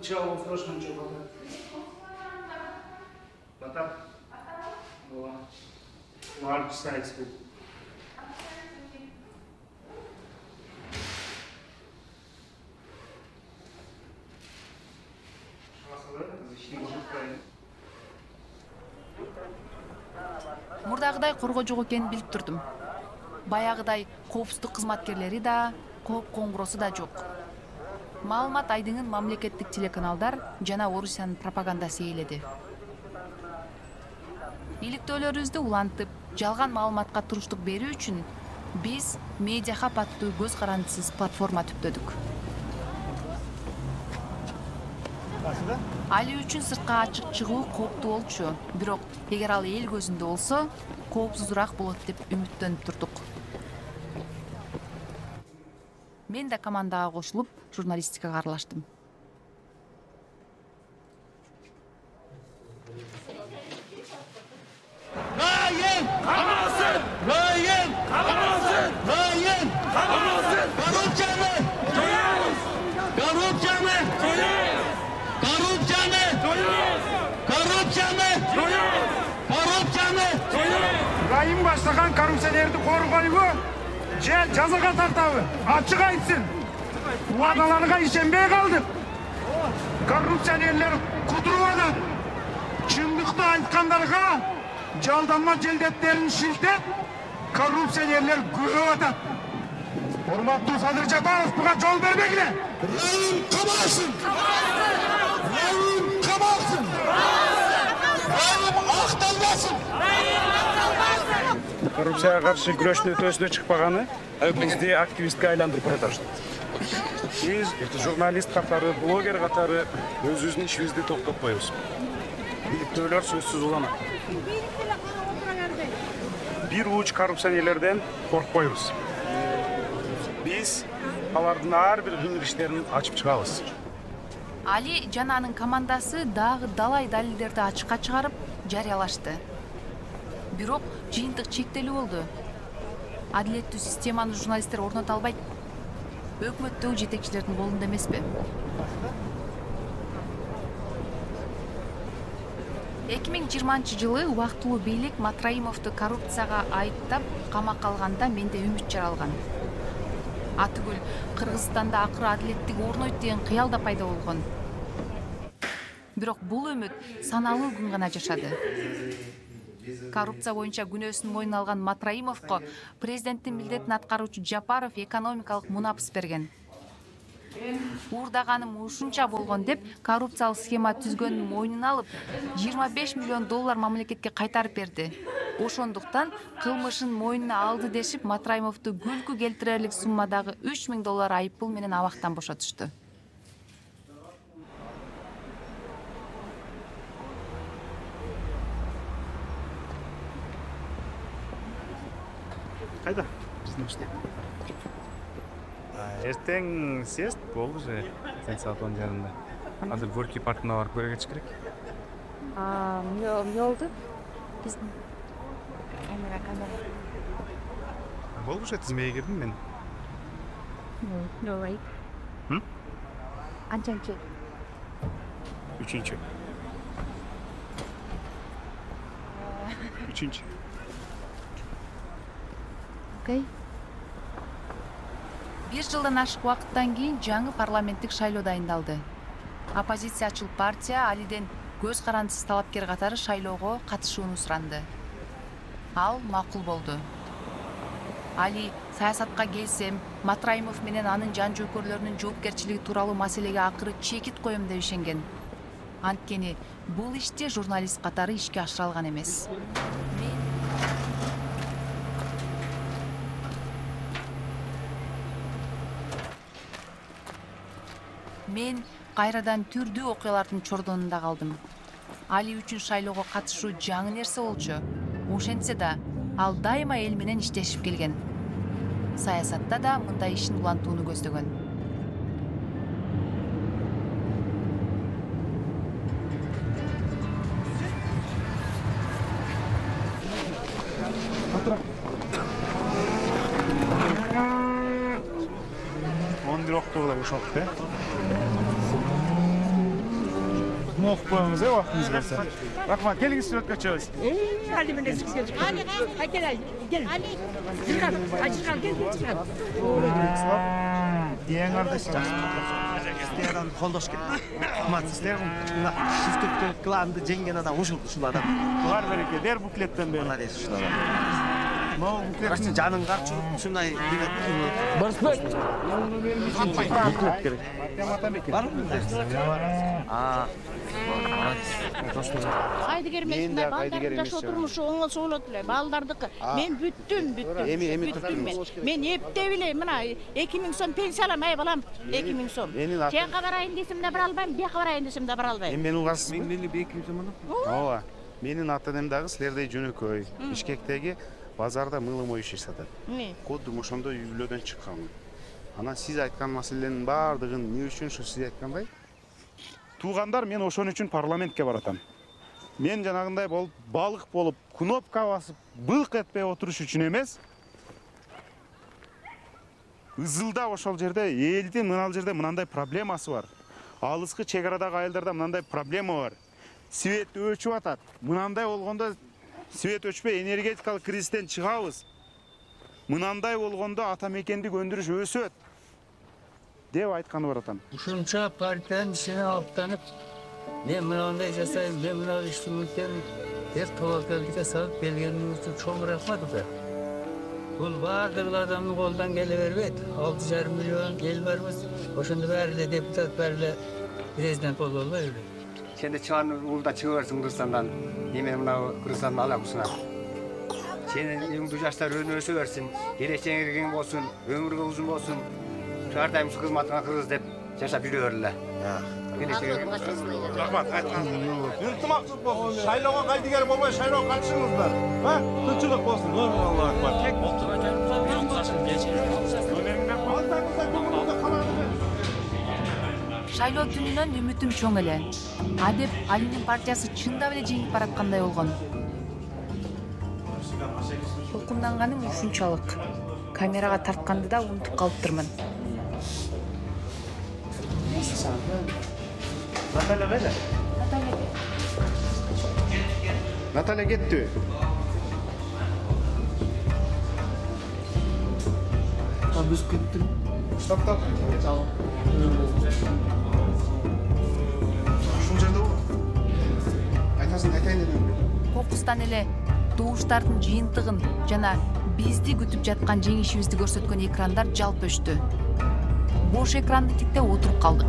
чыга ошончо батап. Large size food. Мурдагыдай коргоо жок экенин билип турдум. Баягыдай коопсуздук кызматкерлери да, кооп коңгуроосу да жок. Маалымат айдыңын мамлекеттик телеканалдар жана Орусиянын пропагандасы ээледи. Иликтөөлөрүбүздү улантып, жалган маалыматка туруштук берүү үчүн биз Медиа Хаб аттуу көз карандысыз платформа түптөдүк. Али үчүн сыртка ачык чыгуу кооптуу болчу, бирок эгер ал эл көзүндө болсо, коопсузураак болот деп үмүттөнүп турдук. Мен да командага кошулуп, журналистикага аралаштым. Rayın kamalsın! Rayın kamalsın! Rayın kamalsın! Korrupsiyanı! Soyuyoruz! Korrupsiyanı! Soyuyoruz! Korrupsiyanı! Soyuyoruz! Korrupsiyanı! Soyuyoruz! Korrupsiyanı! Soyuyoruz! Rayın başlagan korrupsiyanerди korgoyбу, же жазага тартабы? Ачык айтсын. Вадаларга ишенбей калдык. Коррупсионерлер кудуруп атат. Чындыкты айткандарга жалданма желдеттерин шилтеп, коррупсионерлер көбөйүп атат. Урматтуу Садыр Жапаров буга жол бербегиле. Rayın kamalsın! Rayın kamalsın! Rayın aktалбасын! Коррупцияга каршы күрөштүн өтөсүнө чыкпаганы бизди активистке айландырып баратат. Биз журналист катары, блогер катары өзүбүздүн ишибизди токтотпойбуз. Иликтөөлөр сөзсүз уланат. Бир уч коррупционерлерден коркпойбуз. Биз алардын ар бир кылмыш-иштерин ачып чыгабыз. Али жана анын командасы дагы далай далилдерди ачыкка чыгарып, жарыялашты. Бирок жыйынтык чектелүү болду. Адилеттүү системаны журналисттер орното албайт. Өкмөттөгү жетекчилердин колунда эмеспи? 2020-жылы убактылуу бийлик Матраимовду коррупцияга айыптап камакка алганда менде үмүт жаралган. Атүгүл Кыргызстанда акыры адилеттик орнойт деген кыял да пайда болгон. Бирок бул үмүт саналуу күн гана жашады. Коррупция боюнча күнөөсүн мойнуна алган Матраимовго президенттин милдетин аткаруучу Жапаров экономикалык мунапыс берген. Уурдаганым ушунча болгон деп коррупциялык схема түзгөнүн мойнуна алып, 25 миллион доллар мамлекетке кайтарып берди. Ошондуктан кылмышын мойнуна алды дешип Матраимовду күлкү келтирерлик суммадагы 3000 доллар айыппул менен абактан бошотушту. Кайда? Эртең съезд болду же, саат 10 жарымда. Азыр Горький паркына барып көрөгөч керек. Эмне болду? Биздин камера. Болбуш тизмеге кирдим мен. No way. Анчанчы? Үчүнчү. Окей. Бир жылдан ашык убакыттан кийин жаңы парламенттик шайлоо дайындалды. Оппозициячыл партия Алиден көз карандысыз талапкер катары шайлоого катышууну суранды. Ал макул болду. Али саясатка келсем, Матраимов менен анын жан жөөкөрлөрүнүн жоопкерчилиги тууралуу маселеге акыры чекит коем деп ишенген. Анткени бул ишти журналист катары ишке ашыра алган эмес. Мен кайрадан түрдүү окуялардын чордонунда калдым. Али үчүн шайлоого катышуу жаңы нерсе болчу. Ошентсе да, ал дайыма эл менен иштешип келген. Саясатта да мындай ишин улантууну көздөгөн. окуп коюңуз убактыңыз болсо. Рахмат, келиңиз сүрөткө чыгабыз. Hadi ben de sıkıntı. Hadi gel. Hadi. Çıkar. Эң ардашчы. Сіздерден қолдаш керек. Рахмат, сіздер мына шифттік кланды жеңген адам ушул адам. Бар береке, дер буклеттен бери. Молодец, ушул адам. Могу буклеттин Жаның карчылып ушундай Барысбек. буклет керек. Барбы? Кайдыгер эмесмин, балдардын жашоо турмушу оңолсо болот эле. Балдардыкы. Мен бүттүм. Бүттүм мен. Мен эптеп эле мына 2000 сом пенсия алам, ай балам. 2000 сом. Жакка барайын десем да бара албайм, бияка барайын десем да бара албайм. Мен улас. Мен 200 сом алам. Ооба. Менин ата-энем дагы силердей жөнөкөй. Бишкектеги базарда мылы моюш сатат. Коддум ошондой үй бүлөдөн чыкканмын. Анан сиз айткан маселенин баардыгын эмне үчүн ушу сиз айткандай? Туугандар, мен ошон үчүн парламентке баратам. Мен жанагындай болуп, балык болуп, кнопка басып, былк этпей отуруш үчүн эмес. Ызылда ошол жерде элдин мынал жерде мынандай проблемасы бар. Алыскы чек арадагы айылдарда мынандай проблема бар. Свет өчүп атат. Мынандай болгондо свет өчпөй энергетикалык кризистен чыгабыз. Мынандай болгондо ата мекендик өндүрүш өсөт деп айтканы бар атам. Ушунча партиянын ишине алыптанып, мен мынандай жасайм, мен мына ишти мүлтем деп тобокелге салып келгениңиз үчүн чоң рахмат ата. Бул баардык адамдын колунан келе бербейт. 6,5 миллион эл барбыз. Ошондо баары эле депутат, баары эле президент боло албайбы? Сенде чыган уулда чыга берсиң Кыргызстандан. Эме мына Кыргызстандын алакусуна. Сенин үйүңдү жаштар өсө берсин, келечегиң кең болсун, өмүрүң узун болсун. Ар дайым кызматыңа кыргыз деп жашап жүрө берле. Рахмат, ынтымакчылык болсун. Шайлоого кайдыгер болбой, шайлоого катышыңыздар. Тынчылык болсун. Аллах акбар. Шайлоо түнүнөн үмүтүм чоң эле. Адеп Алинин партиясы чындап эле жеңип бараткандай болгон. Толкунданганым ушунчалык. Камерага тартканды да унутуп калыптырмын. Наталья кетти. Биз кеттик. Токтоп. Ушул жерде бол. Айтасың, айтайын дедим. Кокустан эле добуштардын жыйынтыгын жана бизди күтүп жаткан жеңишибизди көрсөткөн экрандар жалп өчтү. Бош экранды тиктеп отуруп калдык.